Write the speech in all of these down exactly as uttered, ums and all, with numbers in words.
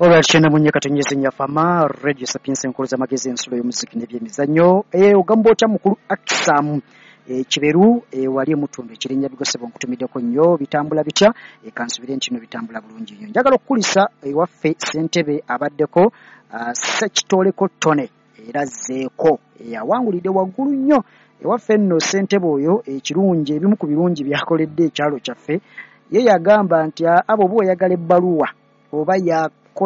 Alright, kyenda mu nnya katonyeze Nyafama Radio Sapiens, enkolo z'amagezi, ensulo y'omuziki n'ebyemizannyo. Eh, ogamba otya mukulu Akisamu e, Kiberu e, wali emutundu ekirinnya bigosebo, nkutumiddeko nnyo. Bitambula bitya? E, kansubire nti no bitambula bulungi nnyo. Njagala okukulisa ewaffe ssentebe abaddeko uh, Ssekitoleko Tone era azzeeko, awangulidde waggulu nnyo ewaffe nno ssentebe oyo. Ekirungi, ebimu ku birungi byakoledde ekyalo kyaffe, ye yagamba nti abo oba oyagala ebbaluwa oba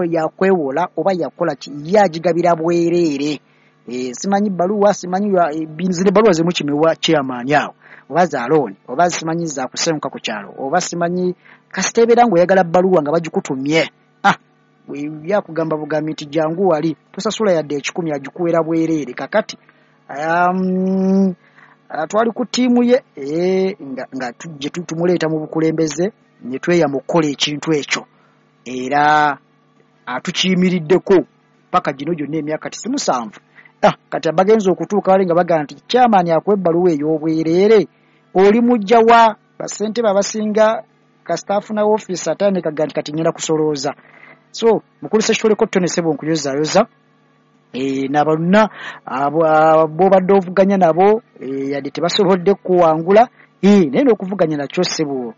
yakwewola oba yakola ki, ye agigabira bwereere. E, simanyi bbaluwa, simanyi zino ebbaluwa zemukimewa chairman awo, oba za loan, oba simanyi za kusenguka ku kyalo, oba simanyi kasita ebeera ng'oyagala bbaluwa nga bagikutumye, ah, yakugamba bugambi nti jangu wali, tosasula yadde ekikumi, agikuwera bwereere. Kakati um, twali ku ttiimu ye e, nga, nga tujje tumuleeta mu bukulembeze ne tweyama okukola ekintu ekyo, era atukiyimiriddeko paka gino gyonna emyaka ti si musanvu. Ah, kati abagenza okutuuka wali nga bagamba nti chairman akuwa ebbaluwa ey'obwereere, oli mujja wa bassentebe abasinga kasita afuna ofiisi atandika ga nti kati ngenda kusolooza. So mukulu Ssekitoleko Tone, ssebo, nkuyozaayoza e, nabaluna b'obadde ovuganya nabo, e, yadde tebasobodde kuwangula, e, naye n'okuvuganya nakyo ssebo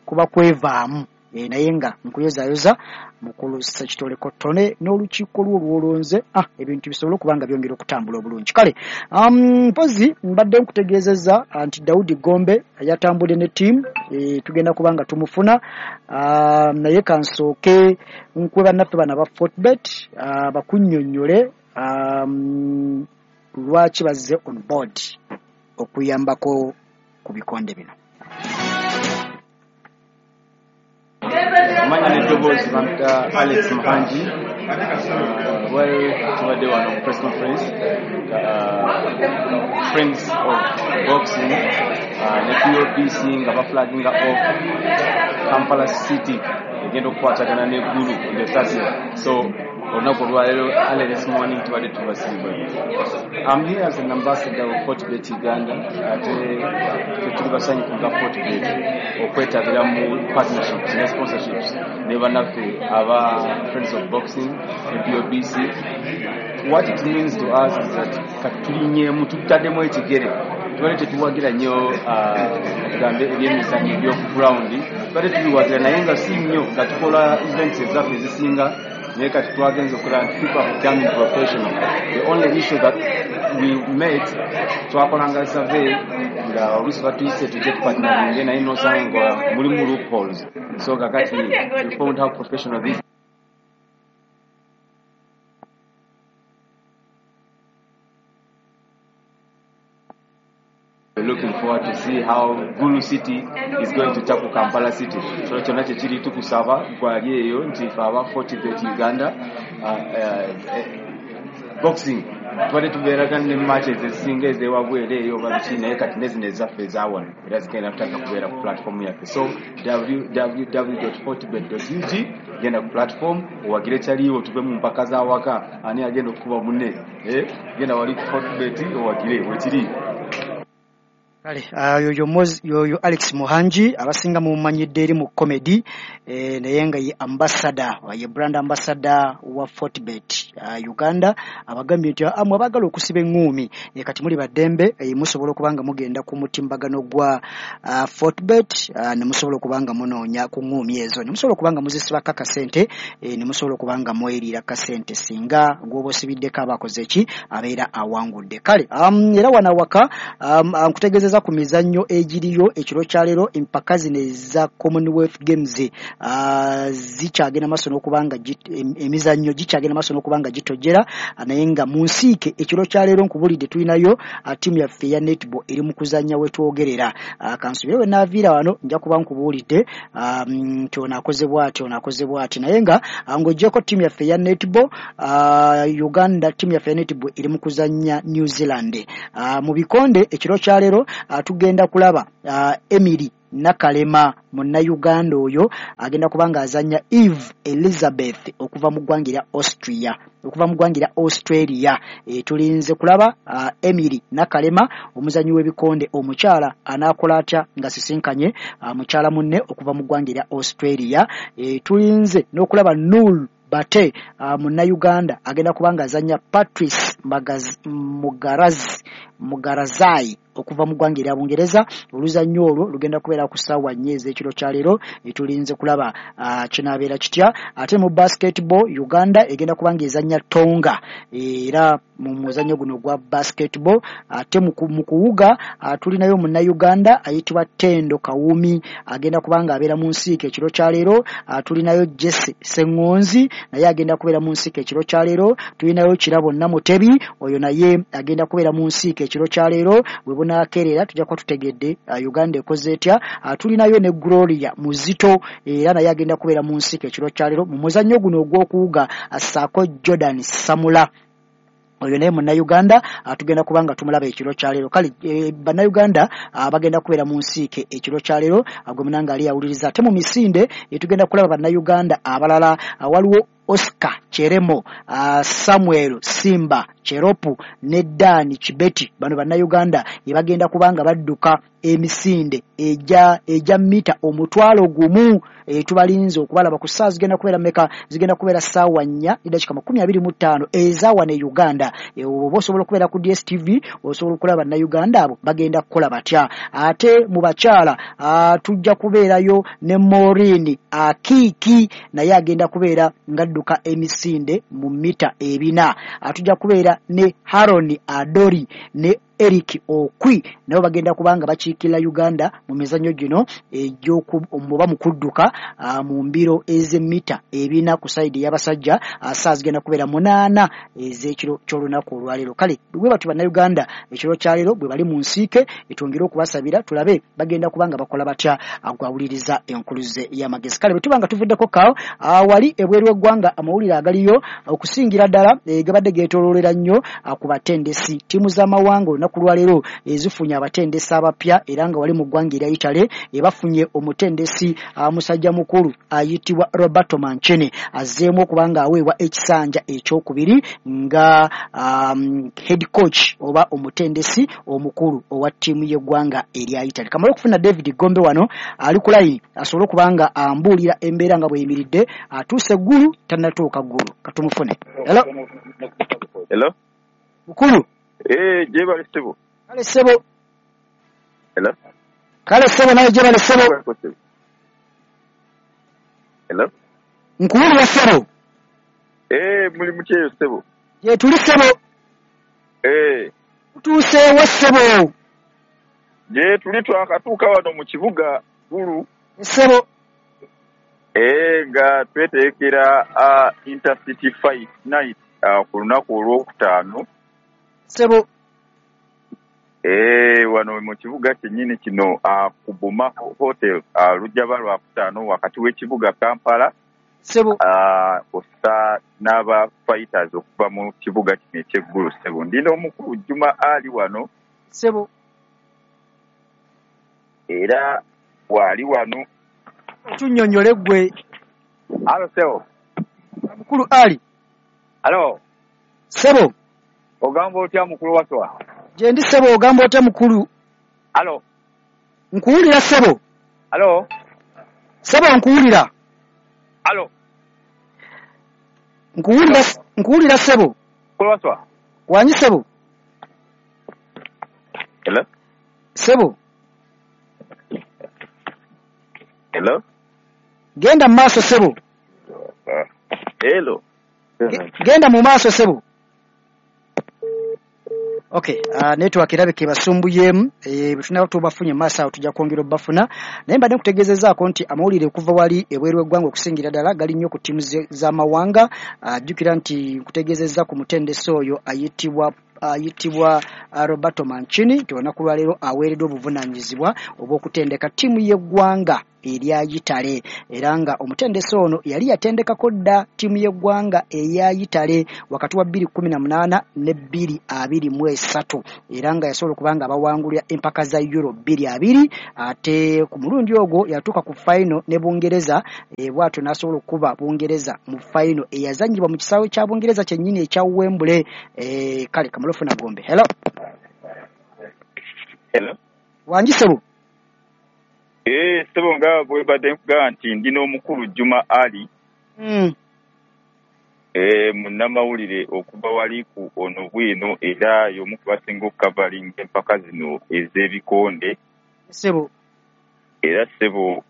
kuba kwevaamu. e, naye nga nkuyozaayoza mukulu Ssekitoleko Tone n'olukiiko lwo olwolonze, ah, ebintu bisobole okuba nga byongera okutambula obulungi. Kale um, mpozi mbadde nkutegeezezza nti Daudi Gombe yatambudde ne ttiimu, e, tugenda kuba nga tumufuna, uh, naye kansooke nkuwe bannaffe bano aba Fortebet uh, bakunnyonnyole um, lwaki bazze on board okuyambako ku bikonde bino. Amanya n'eddoboozi bampita Alex Muhangi. Well, tubadde wano ku press conference, uh, Friends of Boxing uh, ne P O B C nga baflaginga off Kampala City egenda okukwatagana ne Gulu on the thirtieth. So olunaku olwaleero, early this morning, tubadde tubasiibula. I'm here as an ambassador of Fortebet Uganda, ate tetuli basanyufu nga Fortebet okwetabira mu partnerships ne sponsorships ne bannaffe aba Friends of Boxing ne P O B C. What it means to us is that kati tulinyeemu, tutaddemu ekigere. Tubadde tetuwagira nnyo, tugambe ebyemizannyo ebyoku ground tubadde tubiwagira, naye nga si nnyo, nga tukola events ezaffe ezisinga. Naye kati twagenze okulaba nti people are becoming professional. The only issue that we met, twakolanga survey nga oluusi batuyise tujje tupartneringe, naye nosanga nga mulimu loopholes. So kakati we found how professional this We're looking forward to see how Gulu City is going to tackle Kampala City. So kyonna kyekiri tukusaba gwali eyo nti fe aba Fortebet Uganda, uh, uh, boxing tubadde tubeeraga ne matches ezisinga ezewabweru eyo oba biki, naye kati nezino ezaffe ezawano era zigenda kutandika kubeera ku platform yaffe. So w w w fortebet ug, genda ku platform owagire kyaliwo, tuve mu mpaka z'awaka ani agenda okukuba munne. Eh, genda wali ku Fortebet owagire wekiri. Kale uh, yoyo yoyo Alex Muhangi, abasinga mumanyidde eri mu comedy, eh, naye nga ye ambassador, ye brand ambassador wa Fortebet uh, Uganda. Abagambye nti amwe abaagala okusiba eŋŋuumi, eh, kati muli baddembe, eh, musobola okuba nga mugenda ku mutimbagano gwa uh, Fortebet, uh, ne musobola okuba nga munoonya ku ŋŋuumi ezo, ne musobola okuba nga muzisibako akasente, eh, ne musobola okuba nga mweriira kasente singa gw'oba osibiddeko aba akoze ki, abeera awangudde. Kale um, era wano awaka um, nkutegeezeza ku mizannyo egiriyo ekiro kya leero. Empaka zino eza Commonwealth Games uh, zikyagenda maaso n'okuba nga emizannyo gikyagenda maaso n'okuba nga gitojjera, naye nga mu nsiike ekiro kya leero nkubulidde tulinayo uh, ttiimu yaffe eya netball eri mu kuzannya wetwogerera. uh, kansubire we naaviira wano nja kuba nkubuulidde nti um, ono akoze bw'ati, ono akoze bw'ati. Naye nga uh, ng'oggyeko ttiimu yaffe eya netball, uh, Uganda, ttiimu yaffe eya netball eri mu kuzannya New Zealand. uh, mu bikonde ekiro kya leero uh, tugenda kulaba uh, Emily Nakalema, munnayuganda oyo agenda kuba ng'azannya Eve Elizabeth okuva mu ggwanga erya Austria, okuva mu ggwanga erya Australia. E, tulinze kulaba uh, Emily Nakalema, omuzannyi w'ebikonde omukyala, anaakola atya nga sisinkanye uh, mukyala munne okuva mu ggwanga erya Australia. E, tulinze n'okulaba Noor Bate uh, munnayuganda agenda kuba nga azannya Patrice Mugarazi Mugarazai okuva mu ggwanga erya Bungereza. Oluzannya olwo lugenda kubeera ku ssaawa nnya ez'ekiro kya leero, tulinze kulaba uh, kinaabeera kitya. Ate mu basketball Uganda egenda kuba nga ezannya Tonga era mu muzannyo guno gwa basketball. Ate mu kuwuga uh, tulinayo munnayuganda ayitibwa Tendo Kawumi agenda kuba nga abeera mu nsiike ekiro kya leero. Uh, tulinayo Jesse Ssengonzi naye agenda kubeera mu nsiike ekiro kya leero. Tulinayo Kirabo Namutebi oyo naye agenda kubeera mu nsiike ekiro kya leero. Bwe bunakerera tujja kuba tutegedde uh, Uganda ekoze etya. Uh, tulinayo ne Gloria Muzito era naye agenda kubeera mu nsiike ekiro kya leero mu muzannyo guno ogw'okuwuga, ssaako Jordan Samula oyo naye munnayuganda tugenda kuba nga tumulaba ekiro kya leero. Kale e, bannayuganda bagenda kubeera mu nsiike ekiro kya leero, gwe munanga ali awuliriza. Ate mu misinde e, tugenda kulaba bannayuganda abalala, waliwo Oscar Cheremo, uh, Samuel Simba Cheropu ne Dan Kibeti. Bano bannayuganda bagenda kubanga badduka emisinde eja eja mita omutwalo gumu. E, tubalinze okubalaba ku ssaawa zigenda kubeera mmeka? Zigenda kubeera ssaawa nnya eddakiika makumi abiri mu ttaano eza wano e Uganda. E, oba osobola okubeera ku D S T V osobola okulaba bannayuganda abo bagenda kukola batya. Ate mu bakyala tujja kubeerayo ne Maureen Akiiki naye agenda kubeera ng'adduka emisinde mu mita ebina. Tujja kubeera ne Haron Adori ne Eric Okwi nabo bagenda kubanga bakiikirira Uganda mu mizannyo gino egy'okuba mu kudduka mu mbiro ez'emmita ebina ku sayidi y'abasajja. Ssaawa zigenda kubeera munaana ez'ekiro ky'olunaku olwaleero. Kale bwe batyo bannayuganda ekiro kya leero bwe bali mu nsiike, twongere okubasabira tulabe bagenda kubanga bakola batya gwawuliriza enkuluze y'amagezi. Kale bwe tuba nga tuvuddeko kaawo wali ebweru w'eggwanga amawulire agaliyo okusingira ddala gabadde geetooloolera nnyo ku batendesi ttiimu z'amawanga olunaku lwaleero ezifunye abatendesi abapya, era nga wali mu ggwanga erya Italy bafunye omutendesi musajja mukulu ayitibwa Roberto Mancini azzeemu okuba nga aweebwa ekisanja ekyokubiri nga um, head coach oba omutendesi omukulu owa ttiimu y'eggwanga erya Italy. Kamala okufuna David Gombe wano ali ku layini asobole okuba nga ambuulira embeera nga bw'eyimiridde. Atuuse ggulu tannatuuka ggulu, katumufune. Hello. Hello. Mukulu. Eh, jebale ssebo. Kale ssebo. Hello. Kale ssebo naye jebale ssebo. Hello. Nkuwulira ssebo. Eh, muli mutyeyo ssebo. Gye tuli ssebo. Eh. Tutuuseewo ssebo. Gye tuli twakatuuka wano mu kibuga Gulu. Ssebo. Eh, nga tweteekera uh, Intercity Fight Night uh, ku lunaku olwokutaano. Ssebo. Eh, wano mu kibuga kyennyini kino uh, ku Boma Hotel uh, lujja lwakutaano wakati w'ekibuga Kampala. Ssebo. Uh, ossa n'aba fighters okuva mu kibuga kino eky'eggulu ssebo. Ndina omukulu Juma Ali wano. Ssebo. Era waali wano. Tunnyonnyole ggwe. Alo ssebo. Mukulu Ali. Alo. Ssebo. Ogamba otya mukulu Waswa? Gye ndi ssebo, ogamba otya mukulu? Alo. Nkuwulira ssebo. Alo. Ssebo nkuwulira. Alo. Nkuwulira nkuwulira ssebo. Mukulu Waswa. Wanyi ssebo. Hello. Ssebo. Hello. Genda mu maaso ssebo. Hello. Genda mu maaso ssebo. Okay, uh, network erabika ebasumbuyemu, eh, tunaba tubafunye maaso awo tujja kwongera obbafuna. Naye mbadde nkutegeezezaako nti amawulire okuva wali ebweru w'eggwanga okusingira ddala gali nnyo ku ttiimu z'amawanga. Jjukira uh, nti nkutegeezezza ku mutendesi oyo ayitibwa ayitibwa Roberto Mancini nti olunaku lwaleero aweereddwa obuvunaanyizibwa obw'okutendeka ttiimu y'eggwanga erya Italy, era nga omutendesi ono yali yatendekako dda ttiimu y'eggwanga eya Italy wakati wa bbiri kkumi na munaana ne bbiri abiri mu esatu, era nga yasobola okuba nga abawangulira empaka za Euro bbiri abiri. Ate ku mulundi ogwo yatuuka ku final ne Bungereza, e, bw'atyo n'asobola okukuba Bungereza mu final eyazannyibwa mu kisaawe kya Bungereza kyennyini ekya Wembley. E, kale kamala ofuna Gombe. Hello. Hello. Wangi ssebo. Eh, ssebo nga bwe mbadde nkugamba nti ndi n'omukulu Juma Ali. Mm. Eh, munnamawulire okuva wali ku ono bwino era y'omu ku basinga okukavalinga empaka zino ez'ebikonde. Ssebo. Era ssebo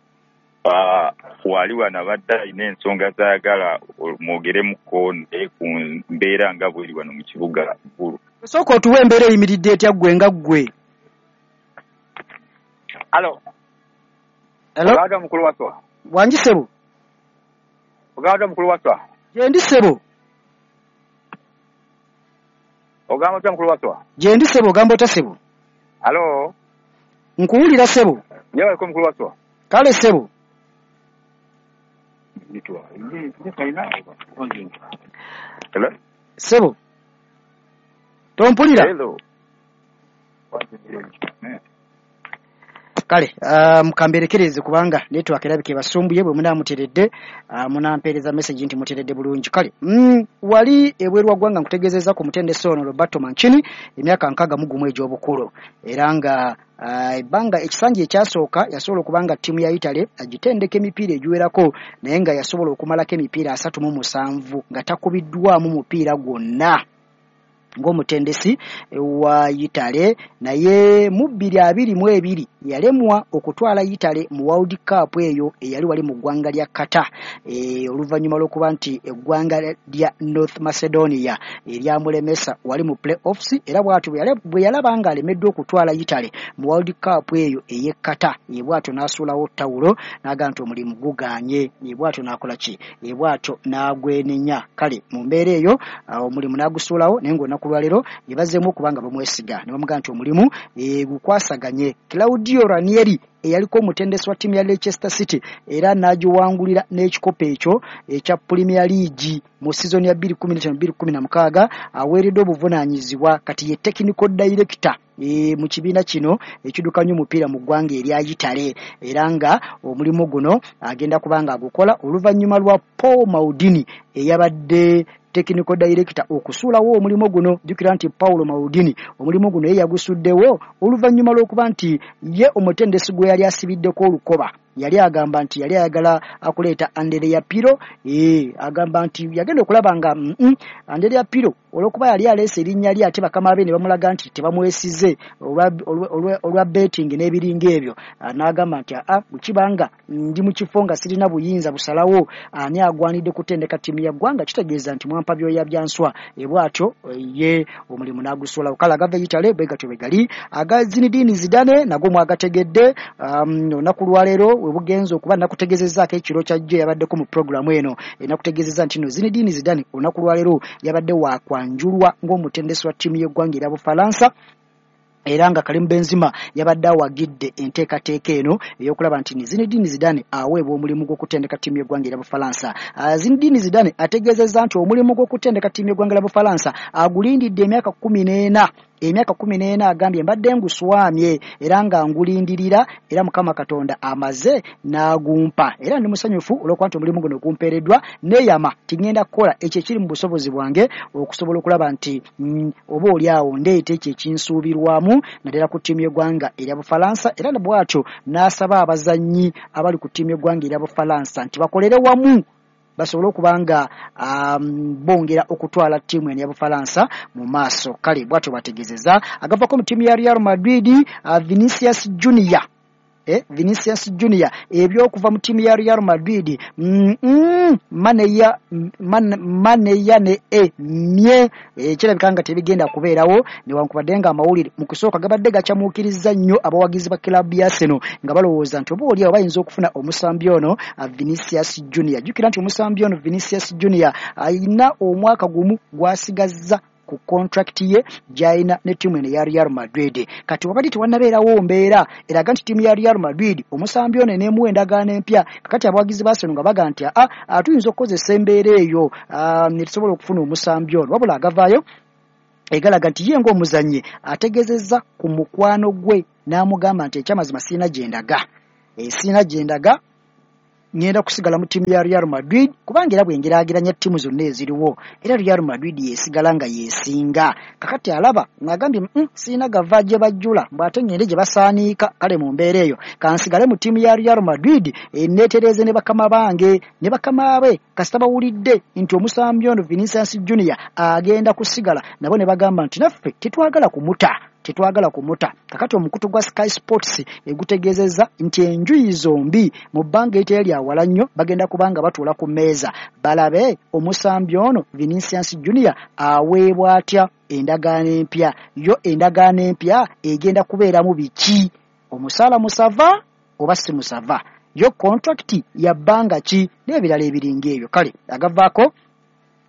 wali wano abadde alina ensonga z'ayagala mwogere konde ku mbeera nga bweri wano mu kibuga Ggulu. Sooka otuwe embeera eyimiridde etya ggwe nga ggwe. Alo. Hello? Ogamba mukulu Waswa. Wangi ssebo. Ogamba mukulu Waswa. Gyendi ssebo. Ogamba otya mukulu Waswa? Gyendi ssebo, ogamba otya ssebo? Alo. Nkuwulira ssebo. Nyebaleko mukulu Waswa. Kale ssebo. Hello? Ssebo. Tompulira? Hello. Kale um, kamberekereze kubanga network erabika ebasumbuye bwe munaamuteredde uh, munampeereza message nti muteredde bulungi. Kale mm, wali ebweru wa ggwanga nkutegeezezza ku mutendesi ono Roberto Mancini emyaka nkaaga mu gumu egy'obukulu era nga ebbanga uh, ekisanja ekyasooka yasobola okuba nga ttiimu ya Italy agitendeka emipiira egiwerako naye nga yasobola okumalako emipiira asatu mu musanvu nga takubiddwamu mupiira gwonna ng'omutendesi wa Italy. Naye mu bbiri abiri mu ebiri yalemwa okutwala Italy mu World Cup eyo eyali wali mu ggwanga lya Qatar e, oluvannyuma lw'okuba nti eggwanga lya North Macedonia eryamulemesa wali mu play-offs era bw'atyo bwe yalaba nga alemeddwa okutwala Italy mu World Cup eyo ey'e Qatar ye bw'atyo n'asuulawo ttawulo n'agamba nti omulimu gugaanye ye bw'atyo n'akola ki ye bw'atyo n'agwenenya. Kale mu mbeera eyo omulimu n'agusuulawo naye ng'olunaku lwaleero yebazeemu okuba nga bamwesiga ne bamugamba nti omulimu gukwasaganye. Claudio Ranieri eyaliko omutendesi wa ttiimu ya Leicester City era n'agiwangulira n'ekikopo ekyo ekya Premier League mu sizoni ya bbiri kumi na ttaano bbiri kumi na mukaaga aweereddwa obuvunaanyizibwa kati ye technical director e, mu kibiina kino ekiddukanya omupiira mu ggwanga erya Italy era nga omulimu guno agenda kuba nga agukola oluvannyuma lwa Paul Maldini eyabadde technical director okusuulawo omulimu guno. Jjukira nti Paulo Maldini omulimu guno ye yagusuddewo oluvannyuma lw'okuba nti ye omutendesi gwe yali asibiddeko olukoba yali agamba nti yali ayagala akuleeta Andrea Pirlo eh, agamba nti yagenda okulaba nga mm -mm, Andrea Pirlo olw'okuba yali aleese erinnya lye ate bakama be ne bamulaga nti tebamwesize olwa betting n'ebiringa ebyo n'agamba nti aa bwekibanga ndi mu kifo nga sirina buyinza busalawo ani agwanidde kutendeka ttiimu ya ggwanga kitegeeza nti mwampa byoya bya nswa e bw'atyo ye omulimu n'agusuulawo. Kale agava Italy bwe gatyo bwe gali. Aga Zinedine Zidane nago mwagategedde olunaku um, lwaleero we bugenze okuba nakutegeezezzaako ekiro kyajjo yabaddeko mu pulogulaamu eno enakutegeezezza nti no Zinedine Zidane olunaku lwaleero yabadde wakwanjulwa ng'omutendesi wa ttiimu y'eggwanga erya Bufalansa era nga Karim Benzema yabadde awagidde enteekateeka eno ey'okulaba nti Zinedine Zidane aweebwa omulimu gw'okutendeka ttiimu y'eggwanga erya Bufalansa. Zinedine Zidane ategeezezza nti omulimu gw'okutendeka ttiimu y'eggwanga erya Bufalansa agulindidde emyaka kkumi n'ena emyaka kkumi n'ena agambye mbadde nguswamye era nga ngulindirira era Mukama Katonda amaze n'agumpa era ndi musanyufu olw'okuba nti omulimu guno gumpeereddwa neeyama tingenda kukola ekyo ekiri mu busobozi bwange okusobola okulaba nti mm, oba oli awo ndeeta ekyo ekinsuubirwamu naddala ku ttiimu y'eggwanga erya Bufalansa. Era bw'atyo n'asaba abazannyi abali ku ttiimu y'eggwanga erya Bufalansa nti bakolere wamu basobole okuba nga um, bongera okutwala ttiimu eno ya Bufalansa mu maaso. Kale bw'atyo bategeezezza. Agavako mu ttiimu ya Real Madrid uh, Vinicius Junior Eh, Vinicius Junior ebyokuva mu ttiimu ya Real Madrid mm -mm, maneya man, maneya ne e mye ekirabika nga tebigenda kubeerawo newankubadde nga amawulire mu kusooka gabadde gacamuukiriza nnyo abawagizi ba club ya Arsenal nga balowooza nti oba oli awo bayinza okufuna omusambi ono Vinicius Junior. Jjukira nti omusambi ono Vinicius Junior ayina omwaka gumu gwasigazza ku contract ye gy'alina ne ttiimu eno eya Real Madrid. Kati wabadde tewannabeerawo mbeera eraga nti ttiimu ya Real Madrid omusambi ono eneemuwa endagaano empya. Kakati abawagizi ba Arsenal nga baga nti aa tuyinza okukozesa embeera eyo ne tusobola okufuna omusambi ono. Wabula agavaayo egalaga nti ye ng'omuzannyi ategeezezza ku mukwano gwe n'amugamba nti ekyamazima sirina gye ndaga e, sirina gye ndaga Ngenda kusigala mu ttiimu ya Real Madrid, kubanga era bwengeraageranya ttiimu zonna eziriwo, era Real Madrid yesigala nga yesinga. Kakati alaba ng'agambye mm, sirina gava gye bajjula, mbw'ate ngende gye basaaniika. Kale mu mbeera eyo kansigale mu ttiimu ya Real Madrid, neetereeze ne bakama bange ne bakama be. Kasita bawulidde nti omusambi ono Vinicius Junior agenda kusigala, nabo ne bagamba nti naffe tetwagala kumuta, tetwagala kumuta. Kakati omukutu gwa Sky Sports egutegeezezza nti enjuyi zombi mu bbanga eritali lya wala nnyo bagenda kubanga batuula ku mmeeza balabe omusambi ono Vinicius Junior aweebwa atya endagaano empya. Yo endagaano empya egenda kubeeramu biki? Omusaala musava oba si musava? Yo contract ya bbanga ki? N'ebirala ebiringa ebyo. Kale agavaako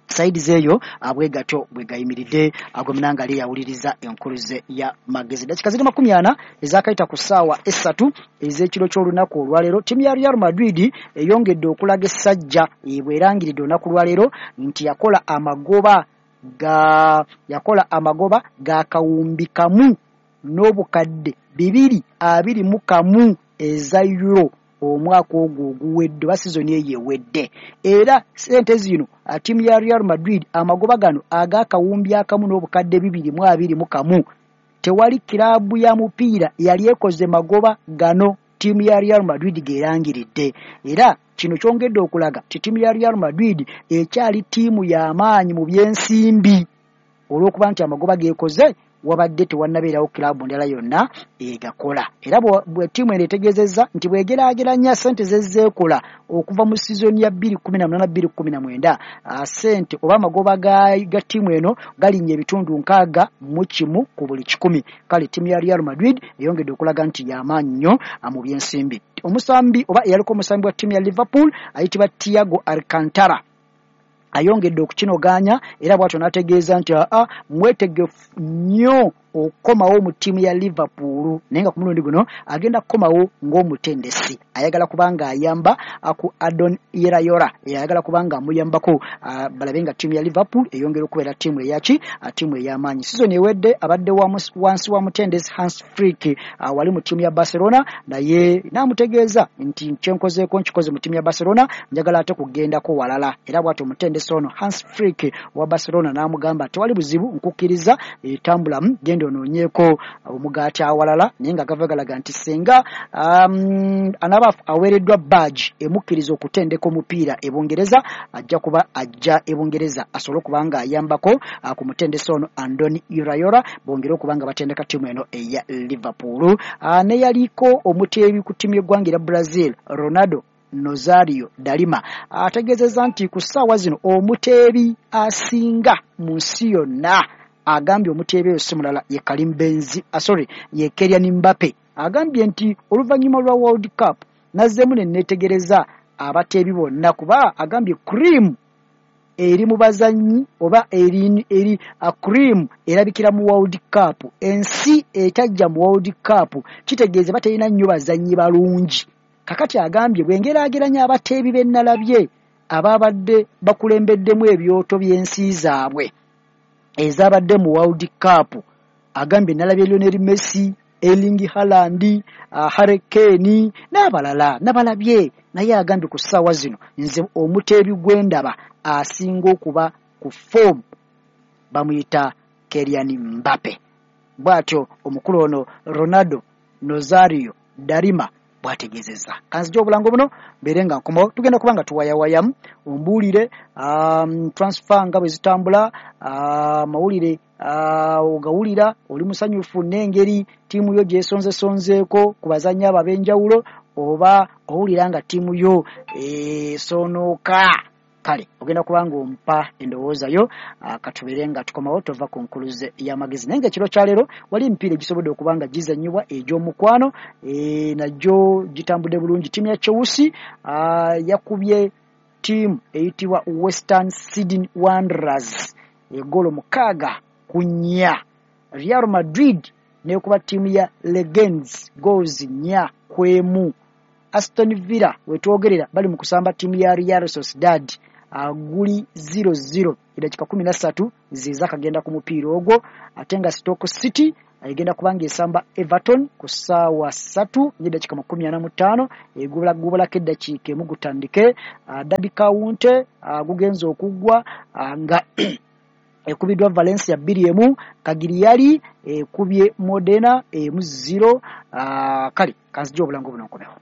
saidi zeeyo abwe gatyo bwe gayimiridde. Ago munanga ali yawuliriza enkuluze ya magezi. Dakika ziri makumi ana ezakayita ku ssaawa essatu ez'ekiro ky'olunaku olwaleero, ttiimu ya Real Madrid eyongedde okulaga essajja bw'erangiridde olunaku lwaleero nti yakola amagoba ga yakola amagoba ga kawumbi kamu n'obukadde bibiri abiri mu kamu eza euro omwaka ogwo oguwedde oba sizoni eyo ewedde. Era sente zino ttiimu ya Real Madrid amagoba gano ag'akawumbi akamu n'obukadde bibiri mu abiri mu kamu, tewali kiraabu ya mupiira yali ekoze magoba gano ttiimu ya Real Madrid geerangiridde. Era kino kyongedde okulaga nti ttiimu ya Real Madrid ekyali ttiimu y'amaanyi mu byensimbi, olw'okuba nti amagoba geekoze wabadde tewannabeerawo kiraabu ndala yonna egakola. Era bwe ttiimu eno etegeezezza nti bw'egeraageranya ssente zezzeekola okuva mu sizoni ya bbiri kumi na munaana bbiri kumi na mwenda, ssente oba amagoba ga, ga ttiimu eno galinnya ebitundu nkaaga mu kimu ku buli kikumi. Kale ttiimu ya Real Madrid eyongedde okulaga nti y'amaanyi nnyo mu byensimbi. Omusambi oba eyaliko omusambi wa ttiimu ya Liverpool ayitibwa Thiago Alcantara ayongedde okukinogaanya, era bw'atyo n'ategeeza nti aa mwetegefu nnyo okukomawo mu ttiimu ya Liverpool, naye nga ku mulundi guno agenda kukomawo ng'omutendesi. Ayagala kubanga ayamba ku Adon Iraola, ayagala kubanga amuyambako balabe nga ttiimu ya Liverpool eyongera okubeera ttiimu eyaki, ttiimu ey'amaanyi. Sizoni ewedde abadde wansi wa mutendesi Hans Flick wali mu ttiimu ya Barcelona, naye n'amutegeeza nti kyenkozeeko nkikoze mu ttiimu ya Barcelona, njagala ate kugendako walala. Era bw'atyo omutendesi ono Hans Flick wa Barcelona n'amugamba tewali buzibu, nkukkiriza, etambulamu genda onoonyeeko omugaati awalala. Naye nga gava galaga nti singa um, anaba aweereddwa badge emukkiriza okutendeka omupiira e Bungereza, ajja kuba ajja e Bungereza asobole okuba nga ayambako ku mutendesi ono Andoni Iraola, bongere okuba nga batendeka ttiimu eno eya Liverpool. Neyaliko omuteebi ku ttiimu y'eggwanga erya Brazil Ronaldo Nazario Dalima ategeezezza nti ku ssaawa zino omuteebi asinga mu nsi yonna, agambye omuteebi oyo si mulala ye Karim Benzi, ah, sorry, ye Kylian Mbappe. Agambye nti oluvannyuma lwa World Cup nazzeemu ne neetegereza abateebi bonna, kuba agambye cream eri mu bazannyi oba eri, eri a cream erabikira mu World Cup. Ensi etajja mu World Cup kitegeeza batalina nnyo bazannyi balungi. Kakati agambye bwengeraageranya abateebi be nnalabye ababadde bakulembeddemu ebyoto by'ensi zaabwe ezabadde mu World Cup, agambye nalabye Lionel Messi, Erling Haaland, uh, Harry Kane n'abalala nabalabye, naye agambye ku ssaawa zino nze omuteebi gwendaba asinga okuba ku form bamuyita Kylian Mbappe. Bw'atyo omukulu ono Ronaldo Nazario Dalima bw'ategeezezza. Kanzija obulango buno mbeere nga nkomawo, tugenda kuba nga tuwayawayamu ombuulire um, transfer nga bwe zitambula, amawulire uh, uh, ogawulira oli musanyufu n'engeri ttiimu yo gy'esonzesonzeeko ku bazannyi abo ab'enjawulo, oba owulira nga ttiimu yo esonooka. Kale ogenda kuba ng'ompa endowooza yo, katubeere nga tukomawo tova ku nkuluze y'amagezi. Naye ng'ekiro kya leero wali emipiira egisobodde okuba nga gizannyibwa egy'omukwano, e, nagyo gitambudde bulungi. Ttiimu ya Chelsea yakubye ttiimu eyitibwa Western Sydney Wanderers eggolo mukaaga ku nnya. Real Madrid n'ekuba ttiimu ya Leganés goals nnya ku emu. Aston Villa wetwogerera bali mu kusamba ttiimu ya Real Sociedad guli zero zero, eddakiika kumi na ssatu ze zaakagenda ku mupiira ogwo. Ate nga Stoke City Egenda kubanga esamba Everton ku ssaawa ssatu n'eddakiika makumi ana mu ttaano, egubulako eddakiika emu gutandike. Derby County gugenze okuggwa nga ekubiddwa Valencia bbiri emu, Cagliari ekubye Modena emu zero. Kale kanzije obulango buno nkomewo.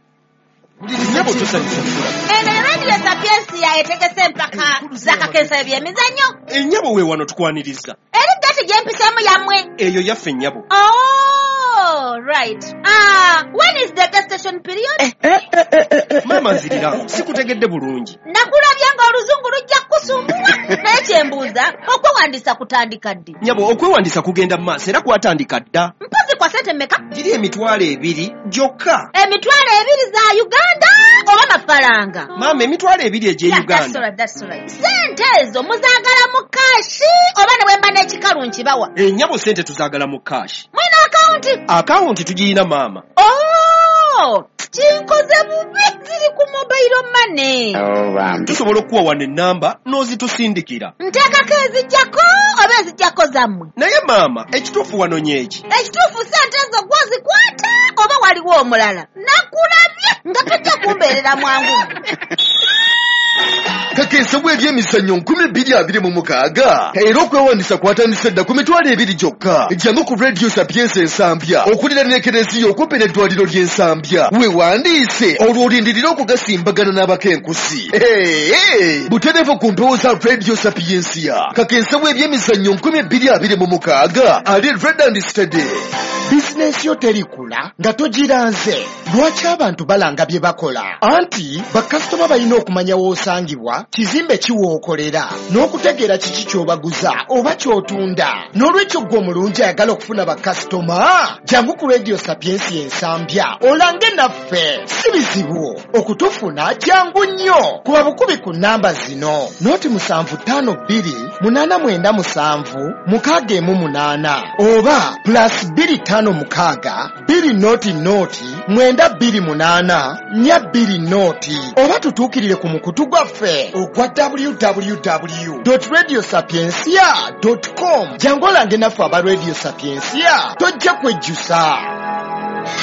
Eno Radio Sapiensia etegese empaka za kakensa ebyemizannyo. Ennyabo we wano tukwaniriza. Eri gati gyempiseemu yammwe. Eyo yaffe nnyabo. Oh, right. Ah, when is the gestation period? Eh, eh, eh, eh, eh. Maama nzirira, sikutegedde bulungi. Nakulabye ng'oluzungu lujja kukusumbuwa. Naye kyembuuza, okwewandiisa kutandika ddi? Nnyabo, okwewandiisa kugenda mu maaso era kwatandika dda. Mpozi kwa ssente mmeka? Giri emitwalo ebiri gyokka. Emitwalo ebiri za Uganda oba mafaranga? Maama, emitwalo ebiri egy'e Yeah, Uganda. that's all right, that's all right. Ssente ezo muzaagala mu kashi oba ne bwe mba n'ekikalu nkibawa? Ennyabo ssente tuzaagala mu kashi. Mulina akawunti? Akawunti tugirina maama. Oh, kinkoze bubi, ziri ku mobile money. Tusobola okuwa wano ennamba n'ozitusindikira. Nteekako ezijjako oba ezijjako zammwe? Naye maama, ekituufu wano nyeeki. Ekituufu ssente ezo gw'ozikwata oba waliwo omulala? Nakulabye nga tojja kumbeerera mwangu. Kakensa bw'ebyemizannyo nkumi bbiri abiri mu mukaaga era okwewandiisa kwatandise dda ku mitwalo ebiri gyokka. Jangu ku Radio Sapiensia Ensambya okuliraana ekereziya okumpi n'eddwaliro ly'Ensambya, weewandiise olwo olindirire okugasimbagana n'abakenkusi. Butereevu ku mpewo za Radio Sapiensia. Kakensa bw'ebyemizannyo nkumi bbiri abiri mu mukaaga ali red and steady. Bizinensi yo terikula nga togiranze. Lwaki abantu balanga bye bakola? Anti bakasitoma balina okumanya w'osangibwa, kizimbe ki w'okolera, n'okutegeera kiki ky'obaguza oba ky'otunda. N'olwekyo ggwe omulungi ayagala okufuna bakasitoma, jangu ku Radio Sapiensia Ensambya olange naffe. Si bizibu okutufuna, jangu nnyo. Kuba bukubi ku nnamba zino: noti musanvu ttaano bbiri munaana mwenda musanvu mukaaga emu munaana oba plus bbiri ttaano mukaaga bbiri noti noti mwenda bbiri munaana nnya bbiri noti, oba tutuukirire ku mukutu gwaffe ogwa w w w dot radio sapiensia dot com. Jangu olange naffe aba Radio Sapiensia, tojja kwejjusa.